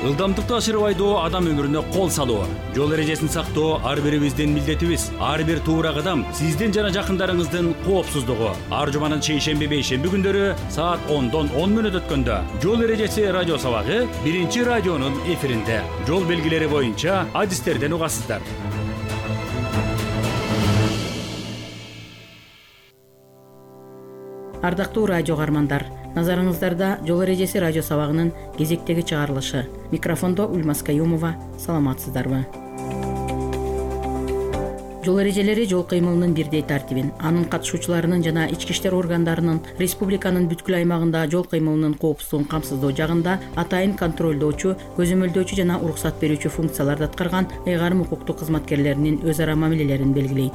Ылдамдыкты ашырып айдоо адам өмүрүнө кол салуу. Жол эрежесин сактоо ар бирибиздин милдетибиз. Ар бир туура кадам сиздин жана жакындарыңыздын коопсуздугу. Ар жуманын чейшемби бейшемби күндөрү саат 10:10 өткөндө жол эрежеси радио сабагы биринчи радионун эфиринде. Жол белгилери боюнча адистерден угасыздар. Ардактуу радио каармандар, назарыңыздарда жол эрежеси радио сабагынын кезектеги чыгарылышы. Микрофондо Ульмас Каюмова. Саламатсыздарбы? Жол эрежелери жол кыймылынын бирдей тартибин, анын катышуучуларынын жана ички иштер органдарынын республиканын бүткүл аймагында жол кыймылынын коопсуздугун камсыздоо жагында атайын контролдоочу, көзөмөлдөөчү жана уруксат берүүчү функцияларды аткарган ыйгарым укуктук кызматкерлеринин өз ара мамилелерин белгилейт.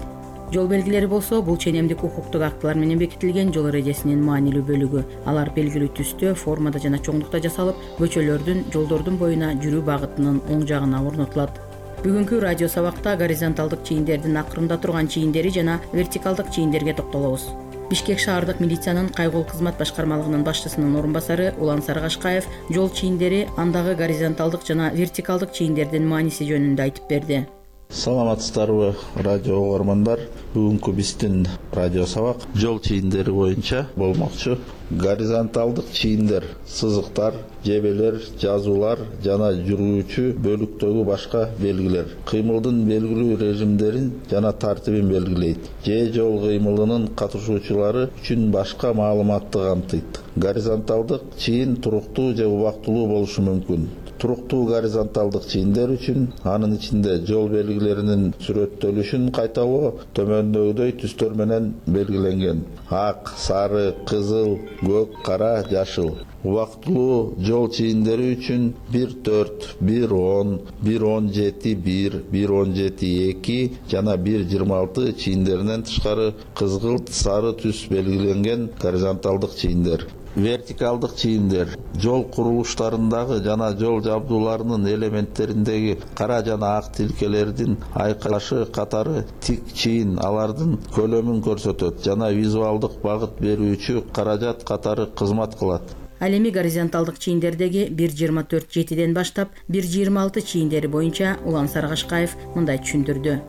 Жол белгилери болсо бул ченемдик укуктук актылар менен бекитилген жол эрежесинин маанилүү бөлүгү. Алар белгилүү түстө, формада жана чоңдукта жасалып, көчөлөрдүн, жолдордун боюна жүрүү багытынын оң жагына орнотулат. Бүгүнкү радио сабакта горизонталдык чийиндердин акырында турган чийиндери жана вертикалдык чийиндерге токтолобуз. Бишкек шаардык милициянын кайгыл кызмат башкармалыгынын башчысынын орун басары Улан Сарыгашкаев жол чийиндери, андагы горизонталдык жана вертикалдык чийиндердин мааниси жөнүндө айтып берди. Саламатсыздарбы, радио угармандар. Бүгүнкү биздин радио сабак жол чийиндери боюнча болмокчу. Горизонталдык чийиндер сызыктар, жебелер, жазуулар жана жүрүүчү бөлүктөгү башка белгилер. Кыймылдын белгилүү режимдерин жана тартибин белгилейт. Жол кыймылынын катышуучулары үчүн башка маалыматты камтыйт. Горизонталдык чийин туруктуу же убактылуу болушу мүмкүн. Туруктуу горизонталдык чийиндер үчүн анын ичинде жол белгилеринин сүрөттөлүшүн кайталоо төмөндөгүдөй түстөр менен белгиленген: ак, сары, кызыл, көк, кара, жашыл. Убактылуу жол чийиндери үчүн 1.4, 1.10, 1.17, 1.17.2 жана 1.26 чийиндеринен тышкары кызгылт, сары түс белгиленген горизонталдык чийиндер. Вертикалдык чийиндер жол курулуштарындагы жана жол жабдууларынын элементтериндеги кара жана ак тилкелердин айкашы катары тик чийин алардын көлөмүн көрсөтөт жана визуалдык багыт берүүчү каражат катары кызмат кылат. Ал эми горизонталдик чийиндердеги 1.24.7ден баштап 1.26 чийиндери боюнча Улан Сарыгашкаев мындай түшүндүрдү.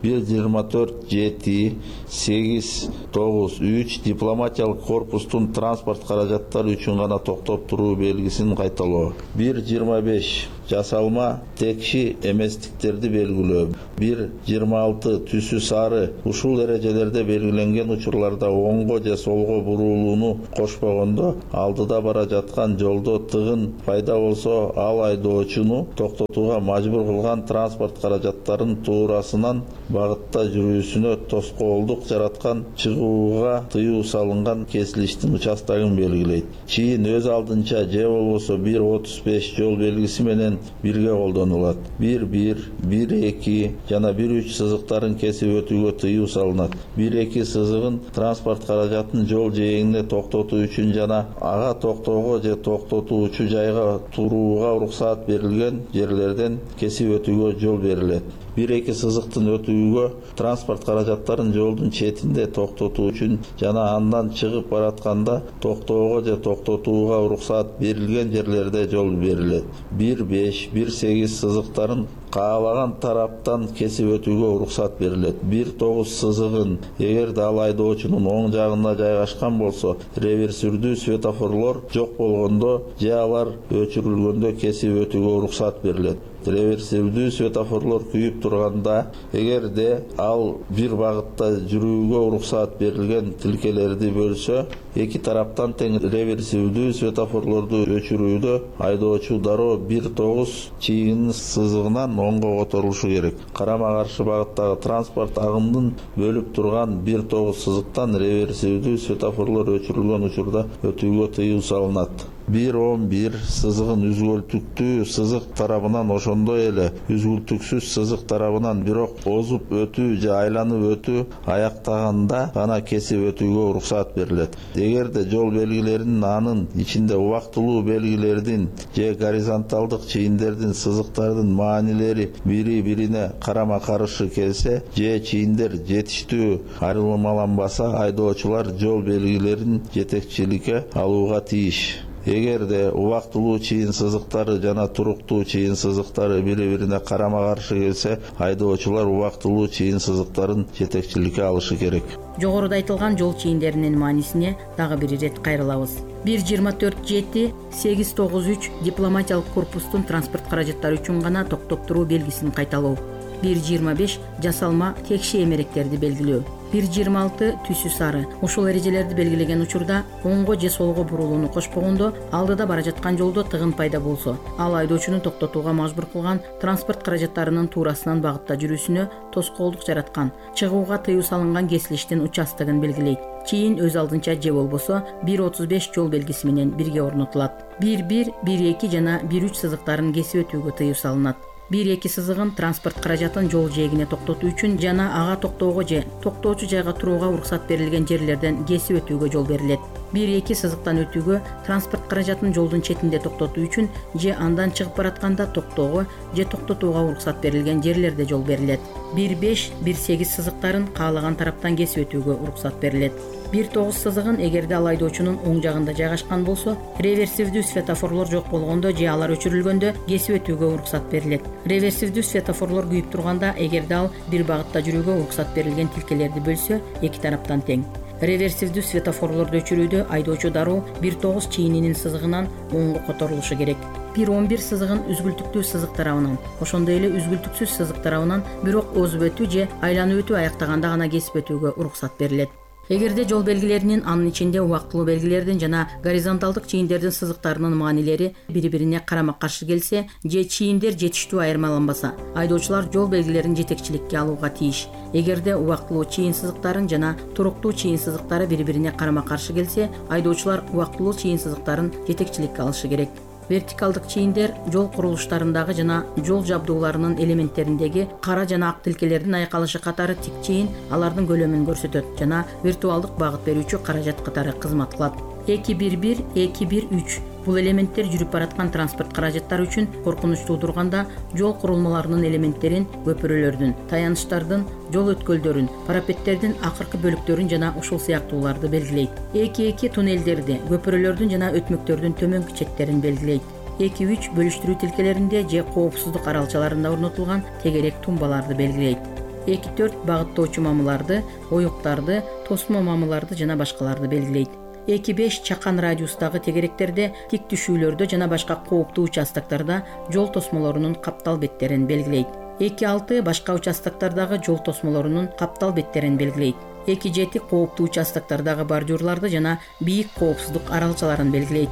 1.24.7, 8.9.3 дипломатиялык корпустун транспорт каражаттары үчүн гана токтоп туруу белгисин кайталоо. 1.25 жасалма текши эместиктерди белгилөө. 1.26 түсү сары ушул эрежелерде белгиленген учурларда оңго же солго бурулууну кошпогондо алдыда бара жаткан жолдо тыгын пайда болсо ал айдоочуну токтотууга мажбур кылган транспорт каражаттарын туурасынан багытта жүрүүсүнө тоскоолдук жараткан, чыгууга тыюу салынган кесилиштин участогун белгилейт. Чийин өз алдынча же болбосо 1.35 жол белгиси менен бирге колдонулат. 1.1, 1.2 жана 1.3 сызыктарын кесип өтүүгө тыюу салынат. 1.2 сызыгын транспорт каражатын жол жээгине токтотуу үчүн жана ага токтоого же токтотуучу жайга турууга уруксаат берилген жерлерден кесип өтүүгө жол берилет. 1.2 сызыктын өтүүгө транспорт каражаттарын жолдун четинде токтотуу үчүн жана андан чыгып баратканда токтоого же токтотууга уруксаат берилген жерлерде жол берилет. 1.5, 1.8 сызыктарын каалаган тараптан кесип өтүүгө уруксаат берилет. 1.9 сызыгын эгерде ал айдоочунун оң жагында жайгашкан болсо, реверсүрдүү светофорлор жок болгондо же алар өчүрүлгөндө кесип өтүүгө уруксаат берилет. Реверсивдүү светофорлор күйүп турганда, эгерде ал бир багытта жүрүүгө уруксаат берилген тилкелерди бөлсө, эки тараптан тең реверсивдүү светофорлорду өчүрүүдө айдоочу дароо 1.9 чийин сызыгынан оңго которулушу керек. Карама-каршы багыттагы транспорт агымдын бөлүп турган 1.9 сызыктан реверсивдүү светофорлор өчүрүлгөн учурда өтүүгө тыюу салынат. 1.11 сызыгын үзгүлтүктүү сызык тарабынан ошондой эле үзгүлтүксүз сызык тарабынан бирок озуп өтүү же айланып өтүү аяктаганда гана кесип өтүүгө уруксаат берилет. Эгерде жол белгилеринин анын ичинде убактылуу белгилердин же горизонталдык чийиндердин сызыктардын маанилери бири-бирине карама-каршы келсе же чийиндер жетиштүү айырмаланбаса, айдоочулар жол белгилерин жетекчиликке алууга тийиш. Эгерде убактылуу чыйын сызыктары жана туруктуу чыйын сызыктары бири-бирине карама-каршы келсе, айдоочулар убактылуу чыйын сызыктарын жетекчиликке алышы керек. Жогоруда айтылган жол чийиндеринин маанисине дагы бир ирет кайрылабыз. 1.24.7.893 дипломатиялык корпустун транспорт каражаттары үчүн гана токтоп туруу белгисин кайталоо. 1.25 жасалма текши эмеректерди белгилөө. 1.26 түсү сары. Ушул эрежелерди белгилеген учурда оңго же солго бурулууну кошпогондо, алдыда бара жаткан жолдо тыгын пайда болсо, ал айдоочуну токтотууга мажбур кылган, транспорт каражаттарынын туурасынан багытта жүрүүсүнө тоскоолдук жараткан, чыгууга тыюу салынган кесилиштин участогун белгилейт. Чийин өз алдынча же болбосо 1.35 жол белгиси менен бирге орнотулат. 1.1, 1.2 жана 1.3 сызыктарын кесип өтүүгө тыюу салынат. 1.2 сызыгын транспорт каражатын жол жээгине токтотуу үчүн жана ага токтоого же токтоочу жайга турууга уруксат берилген жерлерден кесип өтүүгө жол берилет. 1.2 сызыктан өтүүгө транспорт каражатын жолдун четинде токтотуу үчүн же андан чыгып баратканда токтоого же токтотууга уруксат берилген жерлерде жол берилет. 1.5, 1.8 сызыктарын каалаган тараптан кесип өтүүгө уруксат берилет. 1.9 сызыгын эгерде ал айдоочунун оң жагында жайгашкан болсо, реверсивдүү светофорлор жок болгондо же алар өчүрүлгөндө кесип өтүүгө уруксат берилет. Реверсивдүү светофорлор күйүп турганда, эгерде ал бир багытта жүрүүгө уруксат берилген тилкелерди бөлсө, эки тараптан тең. Реверсивдүү светофорлорду өчүрүүдө айдоочу дароо 1.9 чийининин сызыгынан оңго которулушу керек. 1.11 сызыгын үзгүлтүктүү сызык тарабынан, ошондой эле үзгүлтүксүз сызык тарабынан бирок озуп өтүү же айланып өтүү аяктаганда гана кесип өтүүгө уруксат берилет. Эгерде жол белгилеринин, анын ичинде убактылуу белгилердин жана горизонталдык чийиндердин сызыктарынын маанилери бири-бирине карама-каршы келсе же чийиндер жетиштүү айырмаланбаса, айдоочулар жол белгилерин жетекчиликке алууга тийиш. Эгерде убактылуу чийин сызыктарын жана туруктуу чийин сызыктары бири-бирине карама-каршы келсе, айдоочулар убактылуу чийин сызыктарын жетекчиликке алышы керек. Вертикалдык чийиндер жол курулуштарындагы жана жол жабдууларынын элементтериндеги кара жана ак тилкелердин айкалышы катары тик чийин алардын көлөмүн көрсөтөт жана виртуалдык багыт берүүчү каражат катары кызмат кылат. 2.1.1, 2.1.3 бул элементтер жүрүп бараткан транспорт каражаттары үчүн коркунуч туудурганда жол курулмаларынын элементтерин, көпүрөлөрдүн, таяныштардын, жол өткөлдөрүн, парапеттердин акыркы бөлүктөрүн жана ушул сыяктууларды белгилейт. 2.2 туннелдерди, көпүрөлөрдүн жана өтмөктөрдүн төмөнкү четтерин белгилейт. 2.3 бөлүштүрүү тилкелеринде же коопсуздук аралчаларында орнотулган тегерек тумбаларды белгилейт. 2.4 багыттоочу мамыларды, оюктарды, тосмо мамыларды жана башкаларды белгилейт. 2.5 чакан радиустагы тегеректерде, тик түшүүлөрдө жана башка кооптуу участоктарда жол тосмолорунун каптал беттерин белгилейт. 2.6 башка участоктардагы жол тосмолорунун каптал беттерин белгилейт. 2.7 кооптуу участоктардагы бордюрларды жана бийик коопсуздук аралчаларын белгилейт.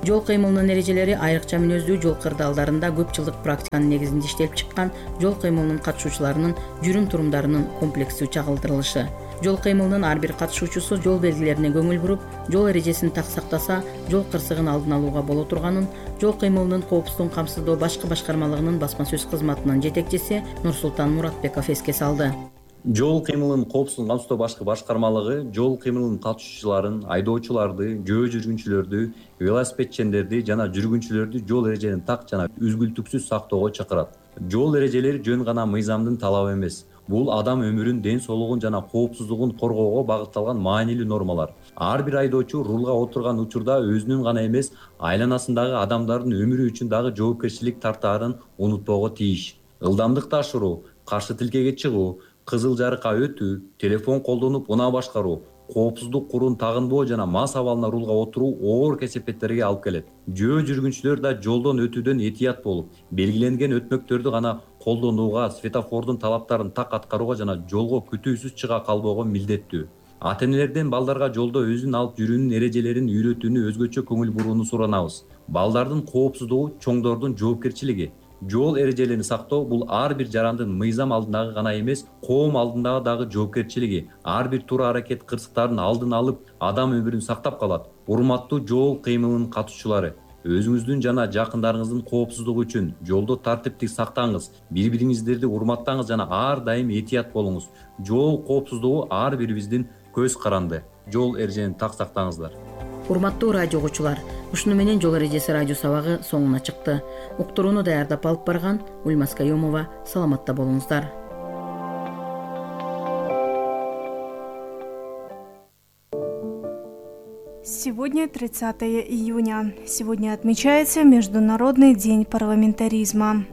Жол кыймылынын эрежелери айрыкча мүнөздүү жол кырдаалдарында көп жылдык практиканын негизинде иштелип чыккан жол кыймылынын катышуучуларынын жүрүм-турумдарынын комплекстүү чагылдырылышы. Жол кыймылынын ар бир катышуучусу жол белгилерине көңүл буруп, жол эрежесин так сактаса, жол кырсыгын алдын алууга боло турганын жол кыймылынын коопсуздугун камсыздоо башкы башкармалыгынын басма сөз кызматынын жетекчиси Нурсултан Муратбеков эске салды. Жол кыймылынын коопсуздугун камсыздоо башкы башкармалыгы жол кыймылынын катышуучуларын, айдоочуларды, жөө жүргүнчүлөрдү, велосипедчендерди жана жүргүнчүлөрдү жол эрежелерин так жана үзгүлтүксүз сактоого чакырат. Жол эрежелери жөн гана мыйзамдын талабы эмес. Бул адам өмүрүн, ден соолугун жана коопсуздугун коргоого багытталган маанилүү нормалар. Ар бир айдоочу рулга отурган учурда өзүнүн гана эмес, айланасындагы адамдардын өмүрү үчүн дагы жоопкерчилик тартаарын унутпоого тийиш. Ылдамдыкты ашыруу, каршы тилкеге чыгуу, кызыл жарыкка өтүү, телефон колдонуп унаа башкаруу, коопсуздук курун тагынбоо жана мас абалына рулга отуруу оор кесепеттерге алып келет. Жөө жүргүнчүлөр да жолдон өтүүдөн этият болуп, белгиленген өтмөктөрдү гана колдонууга, светофордун талаптарын так аткарууга жана жолго күтүүсүз чыга калбоого милдеттүү. Ата-энелерден балдарга жолдо өзүн алып жүрүүнүн эрежелерин үйрөтүүнү өзгөчө көңүл бурууну суранабыз. Балдардын коопсуздугу чоңдордун жоопкерчилиги. Жол эрежелерин сактоо бул ар бир жарандын мыйзам алдындагы гана эмес, коом алдындагы дагы жоопкерчилиги. Ар бир туура аракет кырсыктарын алдын алып, адам өмүрүн сактап калат. Урматтуу жол кыймылынын катышуучулары, өзүңүздүн жана жакындарыңыздын коопсуздугу үчүн жолдо тартиптик сактаңыз, бири-бириңиздерди урматтаңыз жана ар дайым этият болуңуз. Жол коопсуздугу ар бирибиздин көз каранды. Жол эрежелерин так сактаңыздар. Урматтуу радио угуучулар, ушуну менен жол эрежеси радио сабагы соңуна чыкты. Уктурууну даярдап алып барган Ульмас Каюмова. Саламатта болуңуздар. Сегодня 30 июня. Сегодня отмечается Международный день парламентаризма.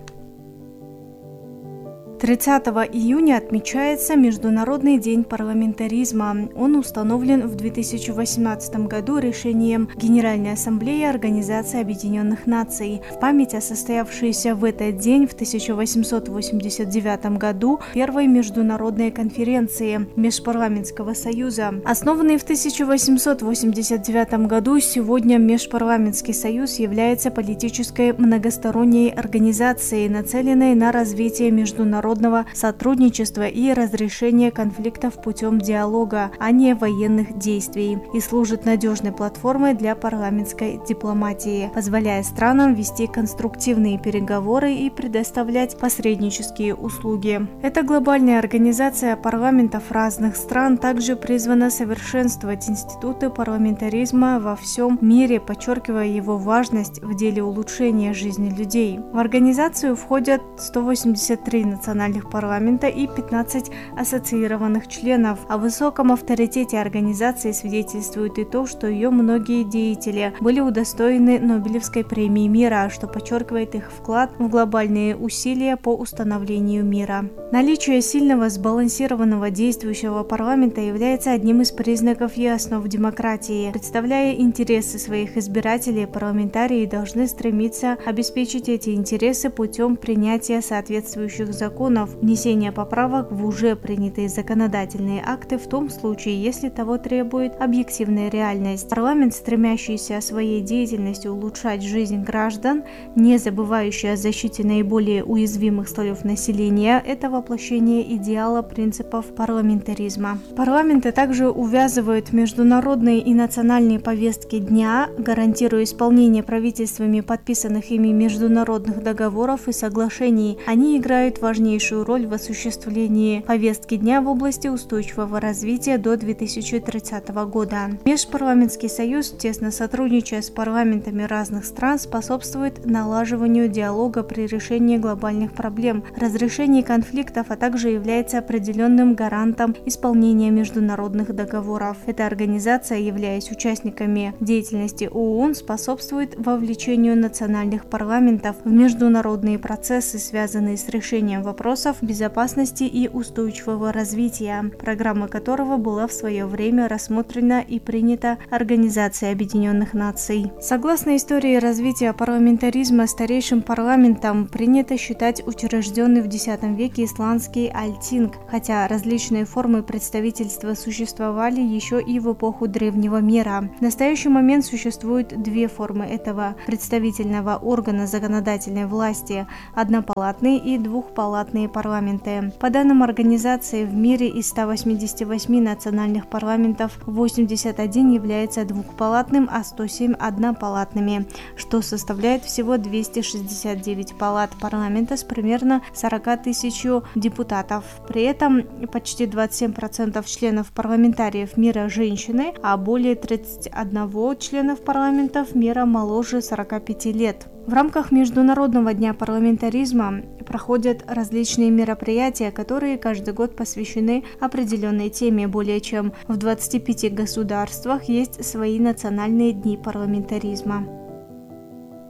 30 июня отмечается Международный день парламентаризма. Он установлен в 2018 году решением Генеральной Ассамблеи Организации Объединенных Наций в память о состоявшейся в этот день в 1889 году первой международной конференции Межпарламентского союза. Основанный в 1889 году, сегодня Межпарламентский союз является политической многосторонней организацией, нацеленной на развитие международного сотрудничества и разрешения конфликтов путем диалога, а не военных действий, и служит надежной платформой для парламентской дипломатии, позволяя странам вести конструктивные переговоры и предоставлять посреднические услуги. Эта глобальная организация парламентов разных стран также призвана совершенствовать институты парламентаризма во всем мире, подчеркивая его важность в деле улучшения жизни людей. В организацию входят 183 национальных парламента и 15 ассоциированных членов. О высоком авторитете организации свидетельствует и то, что ее многие деятели были удостоены Нобелевской премии мира, что подчеркивает их вклад в глобальные усилия по установлению мира. Наличие сильного, сбалансированного действующего парламента является одним из признаков и основ демократии. Представляя интересы своих избирателей, парламентарии должны стремиться обеспечить эти интересы путем принятия соответствующих законов, внесения поправок в уже принятые законодательные акты в том случае, если того требует объективная реальность. Парламент, стремящийся своей деятельностью улучшать жизнь граждан, не забывающий о защите наиболее уязвимых слоев населения, это воплощение идеала принципов парламентаризма. Парламенты также увязывают международные и национальные повестки дня, гарантируя исполнение правительствами подписанных ими международных договоров и соглашений. Они играют важнейшую роль в осуществлении повестки дня в области устойчивого развития до 2030 года. Межпарламентский союз, тесно сотрудничая с парламентами разных стран, способствует налаживанию диалога при решении глобальных проблем, разрешении конфликтов, а также является определенным гарантом исполнения международных договоров. Эта организация, являясь участниками деятельности ООН, способствует вовлечению национальных парламентов в международные процессы, связанные с решением вопросов безопасности и устойчивого развития, программа которого была в свое время рассмотрена и принята Организацией Объединенных Наций. Согласно истории развития парламентаризма, старейшим парламентом принято считать учрежденный в X веке исландский Альтинг, хотя различные формы представительства существовали еще и в эпоху Древнего мира. В настоящий момент существует две формы этого представительного органа законодательной власти – однопалатные и двухпалатные парламенты. По данным организации, в мире из 188 национальных парламентов 81 является двухпалатным, а 107 однопалатными, что составляет всего 269 палат парламента с примерно 40 тысяч депутатов. При этом почти 27% членов парламентариев мира женщины, а более 31 членов парламентов мира моложе 45 лет. В рамках Международного дня парламентаризма проходят различные мероприятия, которые каждый год посвящены определенной теме. Более чем в 25 государствах есть свои национальные дни парламентаризма.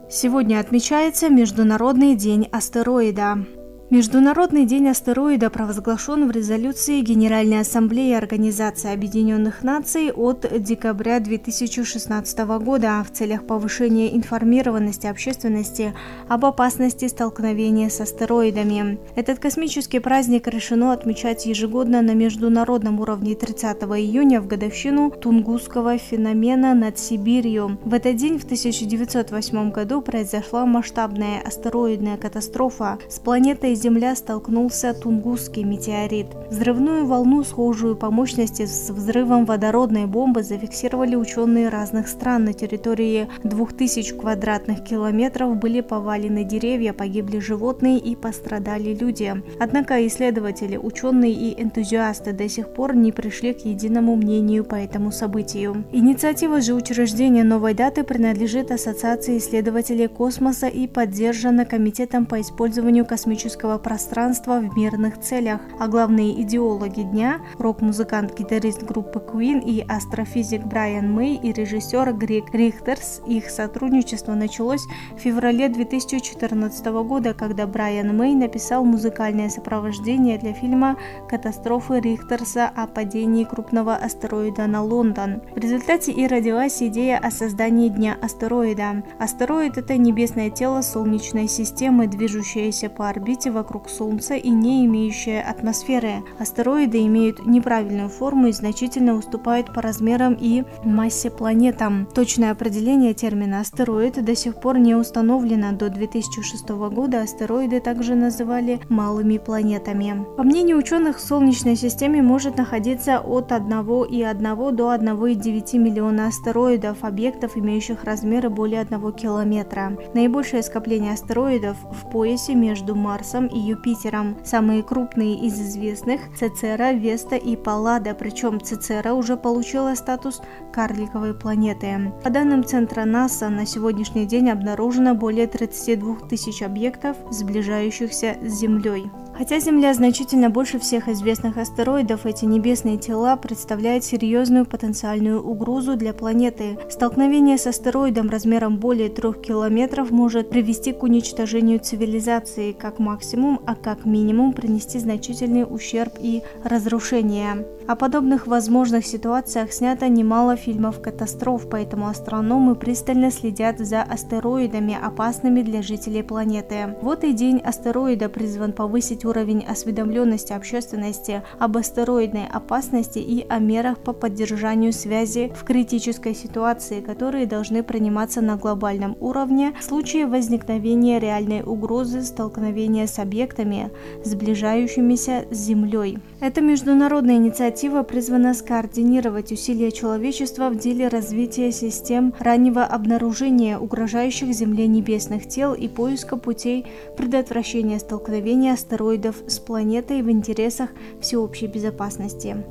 Сегодня отмечается Международный день астероида. Международный день астероида провозглашен в резолюции Генеральной Ассамблеи Организации Объединенных Наций от декабря 2016 года в целях повышения информированности общественности об опасности столкновения с астероидами. Этот космический праздник решено отмечать ежегодно на международном уровне 30 июня в годовщину Тунгусского феномена над Сибирью. В этот день в 1908 году произошла масштабная астероидная катастрофа. С планетой Земля столкнулся Тунгусский метеорит. Взрывную волну, схожую по мощности с взрывом водородной бомбы, зафиксировали ученые разных стран. На территории 2000 квадратных километров были повалены деревья, погибли животные и пострадали люди. Однако исследователи, ученые и энтузиасты до сих пор не пришли к единому мнению по этому событию. Инициатива же учреждения новой даты принадлежит Ассоциации исследователей космоса и поддержана Комитетом по использованию космического космического пространства в мирных целях. А главные идеологи дня – рок-музыкант, гитарист группы Queen и астрофизик Брайан Мэй и режиссер Грег Рихтерс. Их сотрудничество началось в феврале 2014 года, когда Брайан Мэй написал музыкальное сопровождение для фильма «Катастрофы Рихтерса» о падении крупного астероида на Лондон. В результате и родилась идея о создании Дня астероида. Астероид – это небесное тело Солнечной системы, движущееся по орбите вокруг Солнца и не имеющее атмосферы. Астероиды имеют неправильную форму и значительно уступают по размерам и массе планетам. Точное определение термина «астероид» до сих пор не установлено. До 2006 года астероиды также называли малыми планетами. По мнению ученых, в Солнечной системе может находиться от 1,1 до 1,9 миллиона астероидов, объектов, имеющих размеры более 1 километра. Наибольшее скопление астероидов в поясе между Марсом и Юпитером. Самые крупные из известных – Цицера, Веста и Паллада, причем Цицера уже получила статус карликовой планеты. По данным Центра НАСА, на сегодняшний день обнаружено более 32 тысяч объектов, сближающихся с Землей. Хотя Земля значительно больше всех известных астероидов, эти небесные тела представляют серьезную потенциальную угрозу для планеты. Столкновение с астероидом размером более 3 километров может привести к уничтожению цивилизации как максимум, а как минимум принести значительный ущерб и разрушение. О подобных возможных ситуациях снято немало фильмов катастроф, поэтому астрономы пристально следят за астероидами, опасными для жителей планеты. Вот и День астероида призван повысить уровень осведомленности общественности об астероидной опасности и о мерах по поддержанию связи в критической ситуации, которые должны приниматься на глобальном уровне в случае возникновения реальной угрозы столкновения с объектами, сближающимися с Землей. Эта международная инициатива призвана скоординировать усилия человечества в деле развития систем раннего обнаружения угрожающих Земле небесных тел и поиска путей предотвращения столкновения астероидов с планетой в интересах всеобщей безопасности.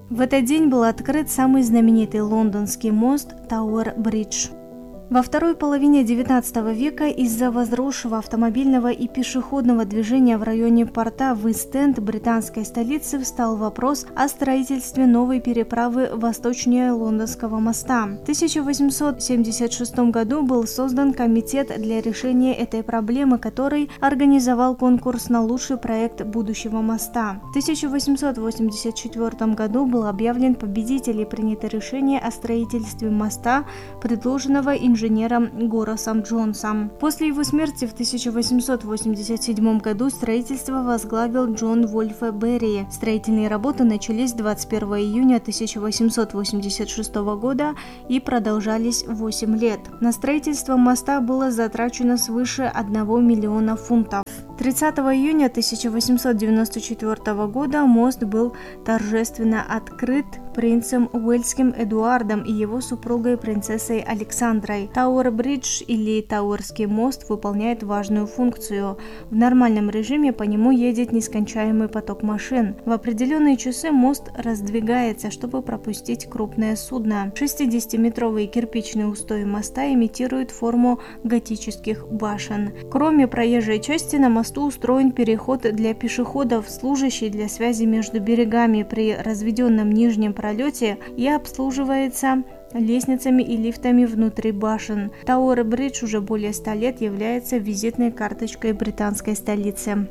В этот день был открыт самый знаменитый лондонский мост Тауэр-Бридж. Во второй половине XIX века из-за возросшего автомобильного и пешеходного движения в районе порта в Ист-Энд британской столицы встал вопрос о строительстве новой переправы восточнее Лондонского моста. В 1876 году был создан комитет для решения этой проблемы, который организовал конкурс на лучший проект будущего моста. В 1884 году был объявлен победитель и принято решение о строительстве моста, предложенного инженером Горасом Джонсом. После его смерти в 1887 году строительство возглавил Джон Вольфе Берри. Строительные работы начались 21 июня 1886 года и продолжались 8 лет. На строительство моста было затрачено свыше 1 миллиона фунтов. 30 июня 1894 года мост был торжественно открыт принцем Уэльским Эдуардом и его супругой принцессой Александрой. Тауэр-Бридж или Тауэрский мост выполняет важную функцию. В нормальном режиме по нему едет нескончаемый поток машин. В определенные часы мост раздвигается, чтобы пропустить крупное судно. 60-метровые кирпичные устои моста имитируют форму готических башен. Кроме проезжей части на мосту устроен переход для пешеходов, служащий для связи между берегами при разведенном нижнем пролете и обслуживается лестницами и лифтами внутри башен. Тауэр-Бридж уже более 100 лет является визитной карточкой британской столицы.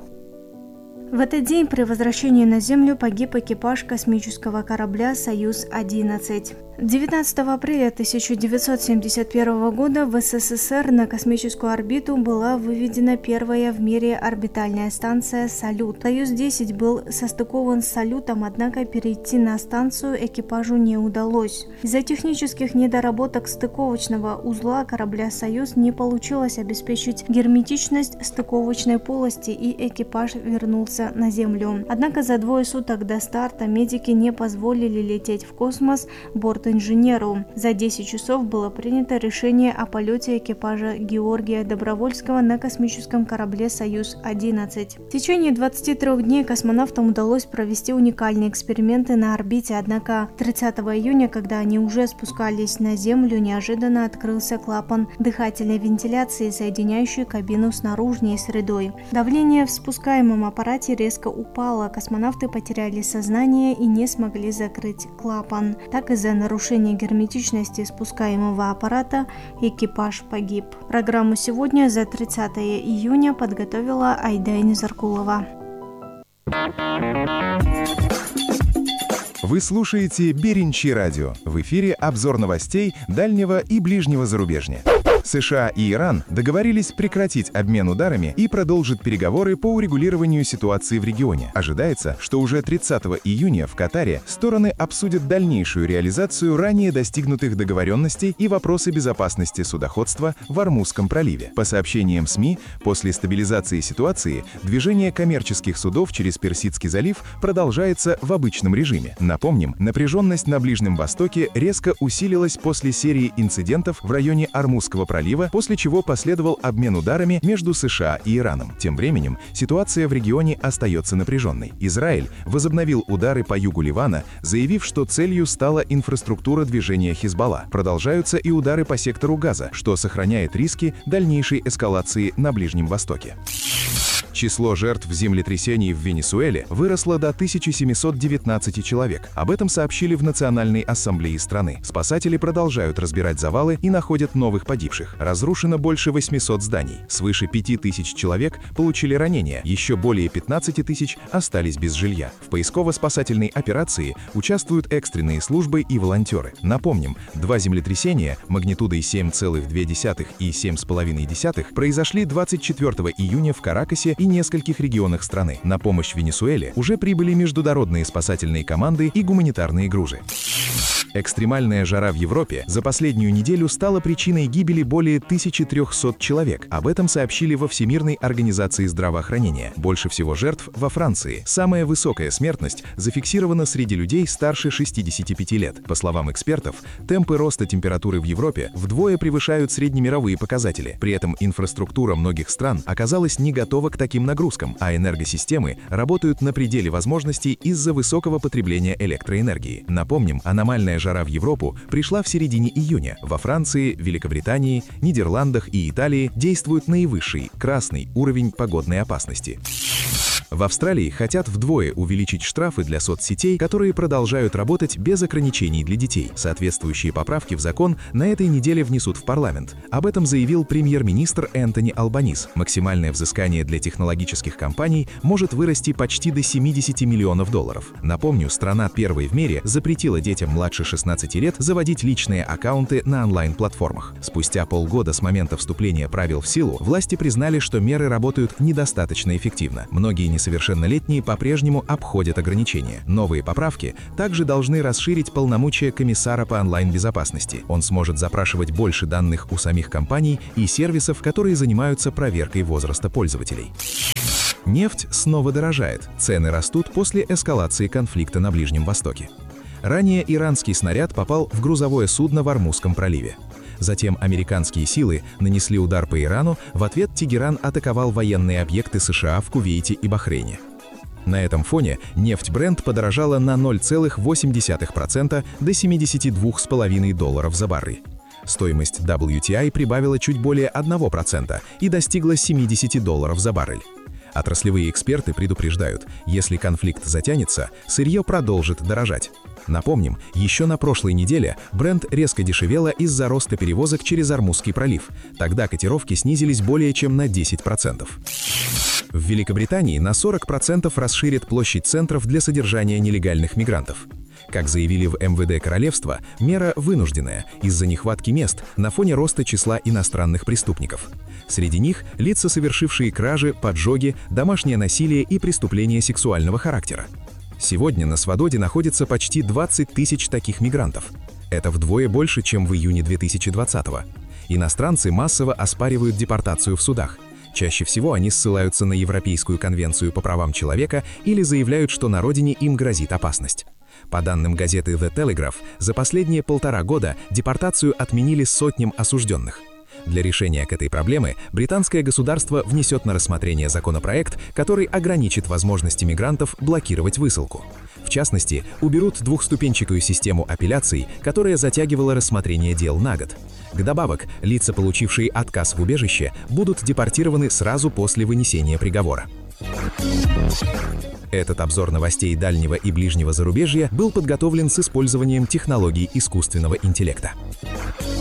В этот день при возвращении на Землю погиб экипаж космического корабля «Союз-11». 19 апреля 1971 года в СССР на космическую орбиту была выведена первая в мире орбитальная станция «Салют». «Союз-10» был состыкован с «Салютом», однако перейти на станцию экипажу не удалось. Из-за технических недоработок стыковочного узла корабля «Союз» не получилось обеспечить герметичность стыковочной полости, и экипаж вернулся на Землю. Однако за 2 суток до старта медики не позволили лететь в космос борту бортинженеру. За 10 часов было принято решение о полете экипажа Георгия Добровольского на космическом корабле «Союз-11». В течение 23 дней космонавтам удалось провести уникальные эксперименты на орбите, однако 30 июня, когда они уже спускались на Землю, неожиданно открылся клапан дыхательной вентиляции, соединяющий кабину с наружной средой. Давление в спускаемом аппарате резко упало, космонавты потеряли сознание и не смогли закрыть клапан. Так, из-за нарушения герметичности спускаемого аппарата экипаж погиб. Программу сегодня за 30 июня подготовила Айдайна Заркулова. Вы слушаете Беринчи радио. В эфире обзор новостей дальнего и ближнего зарубежья. США и Иран договорились прекратить обмен ударами и продолжить переговоры по урегулированию ситуации в регионе. Ожидается, что уже 30 июня в Катаре стороны обсудят дальнейшую реализацию ранее достигнутых договоренностей и вопросы безопасности судоходства в Ормузском проливе. По сообщениям СМИ, после стабилизации ситуации движение коммерческих судов через Персидский залив продолжается в обычном режиме. Напомним, напряженность на Ближнем Востоке резко усилилась после серии инцидентов в районе Ормузского пролива, после чего последовал обмен ударами между США и Ираном. Тем временем ситуация в регионе остается напряженной. Израиль возобновил удары по югу Ливана, заявив, что целью стала инфраструктура движения Хизбалла. Продолжаются и удары по сектору Газа, что сохраняет риски дальнейшей эскалации на Ближнем Востоке. Число жертв землетрясений в Венесуэле выросло до 1719 человек. Об этом сообщили в Национальной ассамблее страны. Спасатели продолжают разбирать завалы и находят новых погибших. Разрушено больше 800 зданий. Свыше 5000 человек получили ранения. Еще более 15 тысяч остались без жилья. В поисково-спасательной операции участвуют экстренные службы и волонтеры. Напомним, 2 землетрясения магнитудой 7,2 и 7,5 произошли 24 июня в Каракасе и нескольких регионах страны. На помощь Венесуэле уже прибыли международные спасательные команды и гуманитарные грузы. Экстремальная жара в Европе за последнюю неделю стала причиной гибели более 1300 человек. Об этом сообщили во Всемирной организации здравоохранения. Больше всего жертв во Франции. Самая высокая смертность зафиксирована среди людей старше 65 лет. По словам экспертов, темпы роста температуры в Европе вдвое превышают среднемировые показатели. При этом инфраструктура многих стран оказалась не готова к таким нагрузкам, а энергосистемы работают на пределе возможностей из-за высокого потребления электроэнергии. Напомним, аномальная жара в Европу пришла в середине июня. Во Франции, Великобритании, Нидерландах и Италии действует наивысший красный уровень погодной опасности. В Австралии хотят вдвое увеличить штрафы для соцсетей, которые продолжают работать без ограничений для детей. Соответствующие поправки в закон на этой неделе внесут в парламент. Об этом заявил премьер-министр Энтони Албанис. Максимальное взыскание для технологических компаний может вырасти почти до $70 миллионов. Напомню, страна первой в мире запретила детям младше 16 лет заводить личные аккаунты на онлайн-платформах. Спустя полгода с момента вступления правил в силу, власти признали, что меры работают недостаточно эффективно. Многие несовершеннолетние по-прежнему обходят ограничения. Новые поправки также должны расширить полномочия комиссара по онлайн-безопасности. Он сможет запрашивать больше данных у самих компаний и сервисов, которые занимаются проверкой возраста пользователей. Нефть снова дорожает. Цены растут после эскалации конфликта на Ближнем Востоке. Ранее иранский снаряд попал в грузовое судно в Ормузском проливе. Затем американские силы нанесли удар по Ирану, в ответ Тегеран атаковал военные объекты США в Кувейте и Бахрейне. На этом фоне нефть Brent подорожала на 0,8% до $72,5 за баррель. Стоимость WTI прибавила чуть более 1% и достигла $70 за баррель. Отраслевые эксперты предупреждают, если конфликт затянется, сырье продолжит дорожать. Напомним, еще на прошлой неделе Brent резко дешевела из-за роста перевозок через Ормузский пролив. Тогда котировки снизились более чем на 10%. В Великобритании на 40% расширят площадь центров для содержания нелегальных мигрантов. Как заявили в МВД Королевства, мера вынужденная из-за нехватки мест на фоне роста числа иностранных преступников. Среди них лица, совершившие кражи, поджоги, домашнее насилие и преступления сексуального характера. Сегодня на свободе находится почти 20 тысяч таких мигрантов. Это вдвое больше, чем в июне 2020-го. Иностранцы массово оспаривают депортацию в судах. Чаще всего они ссылаются на Европейскую конвенцию по правам человека или заявляют, что на родине им грозит опасность. По данным газеты The Telegraph, за последние 1,5 года депортацию отменили сотням осужденных. Для решения к этой проблемы британское государство внесет на рассмотрение законопроект, который ограничит возможности мигрантов блокировать высылку. В частности, уберут двухступенчатую систему апелляций, которая затягивала рассмотрение дел на год. Вдобавок, лица, получившие отказ в убежище, будут депортированы сразу после вынесения приговора. Этот обзор новостей дальнего и ближнего зарубежья был подготовлен с использованием технологий искусственного интеллекта.